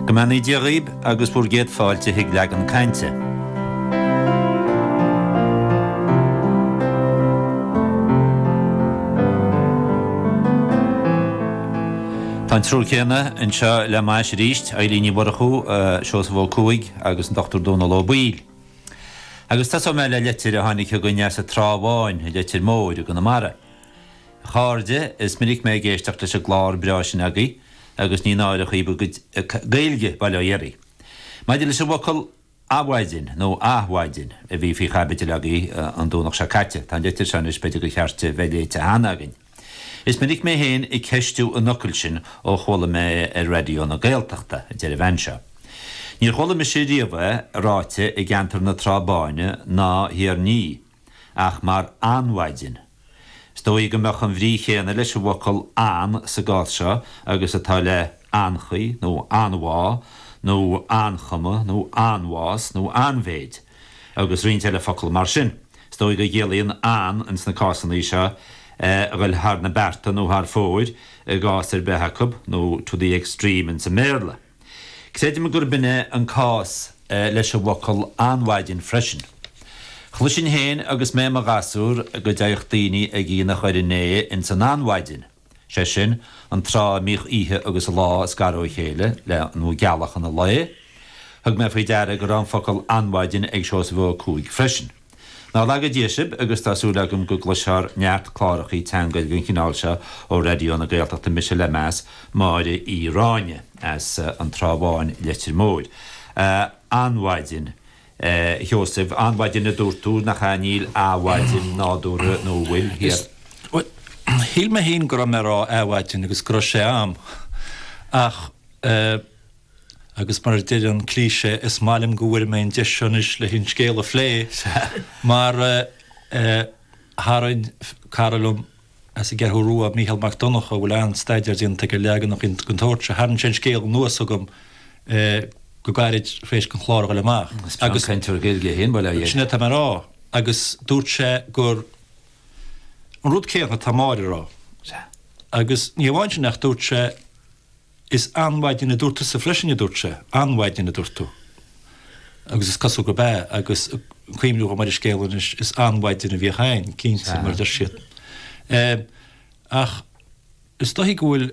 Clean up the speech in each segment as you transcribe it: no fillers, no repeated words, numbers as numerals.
Go mbeannaí Dia dhaoib agus bhur gcéad fáilte chuig Leagan Cainte. Tá an triúr céanna anseo le m'ais arís, Eilín Ní Mhurchú, Seosamh Ó Cuaig agus an Dr Dónal Ó Baoill. Agus tosóidh mé le litir a tháinig chugainn as an Trá Bháin, i Leitir Móir i gConamara. A chairde, is minic mé ag éisteacht leis an gclár breá sin agaibh agus ní náire dhaoibh bhur gcuid Gaeilge, bail ó Dhia oraibh. Maidir leis an bhfocal adhmhaidin, nó athmhaidin, a bhí faoi chaibidil agaibh an Domhnach seo caite, tá an litir seo anois b'fhéidir gur cheart di bheith léite cheana againn. Is minic mé féin ag ceistiú an fhocail sin ó chuala mé é ar Raidió na Gaeltachta, a deir an bhean seo. Níor chuala mise riamh é ráite i gceantar na Trá Báine ná Thiar Ní. ach mar anmhaidin. Is dóigh go mbeadh an bhrí chéanna leis an bhfocal an sa gcás seo agus atá le anchaoi nó anmhá nó anchuma nó anbhás nó anmhéid agus roinnt eile focal mar sin. Is dóigh go gciallaíonn an ins na cásanna seo a ghoil thar na bearta nó thar fóir i gcás ar bith acu nó to the extreme ins an mBéarla. Creidim gurb in é an cás leis an bhfocal anmhaidin freisin. Chloisinn féin agus mé i mo ghasúr go dteigheadh daoine ag aonach ar an ae ins an anmhaidin, sé sin, an tráth a mbíodh oíche agus lá ag scaradh ó chéile le, nó gealach an lae. Thug mé faoi deara go raibh an focal anmhaidin ag Seosamh Ó Cuaig freisin. Ná laga Dia sibh agus tá súil agam go gcloisfear neart clárachaí teanga den chineál seo ó Raidió na Gaeltachta Mise le meas, Máire Uí Ráinne as an Trá Bháin, Leitir Móir. Anmhaidin, a Sheosaimh, anmhaidin a dúirt tú, nach ea? Níl athmhaidin nádúrtha nó an bhfuil, thiar? Bhuel, shíl mé féin go raibh mé ag rá athmhaidin agus go raibh sé a'm ach eh, Agus mar a deir an cliché, is maith liom go bhfuair mé an deis seo anois le an scéal a phlé, mar tharraing cara liom as an gCeathrú Rua, Mícheál Mac Donncha, a bhfuil an-staidéar déanta aige ar leaganacha den tsórt seo, tharraing sé an scéal anuas chugam go gairid tar éis don chlár a dhul amach. Is breá an cainteoir Gaeilge é féin, bail ó Dhia air. Sin é atá mé a rá. Agus dúirt sé gur an rud céanna atá Máire a rá. Sea. Agus ní amháin sin ach dúirt sé, Is anmhaidin a dúirt tusa freisin, a dúirt sé. Anmhaidin a dúirt tú. Agus is cosúil gurb ea, agus ag cuimhniú dhom ar an scéal anois, is anmhaidin a bhíodh ann, cinnte, mar a deir siad. Ach is dóichí go bhfuil,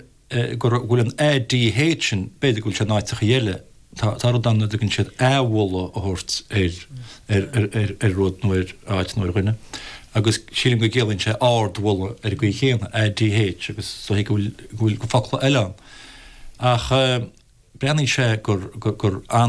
go bhfuil an ADH sin, b'fhéidir go bhfuil sé in áiteachaí eile, tá, tá rud ann a dtugann siad athmholadh a thabhairt ar, ar, ar, ar rud nó ar áit nó ar dhuine. Agus sílim go gciallaíonn sé ardmholadh ar an gcaoi chéanna, ADH, agus is dóichí go bhfuil, go bhfuil focla eile ann. Ach breathnaíonn sé gur, gur, gur.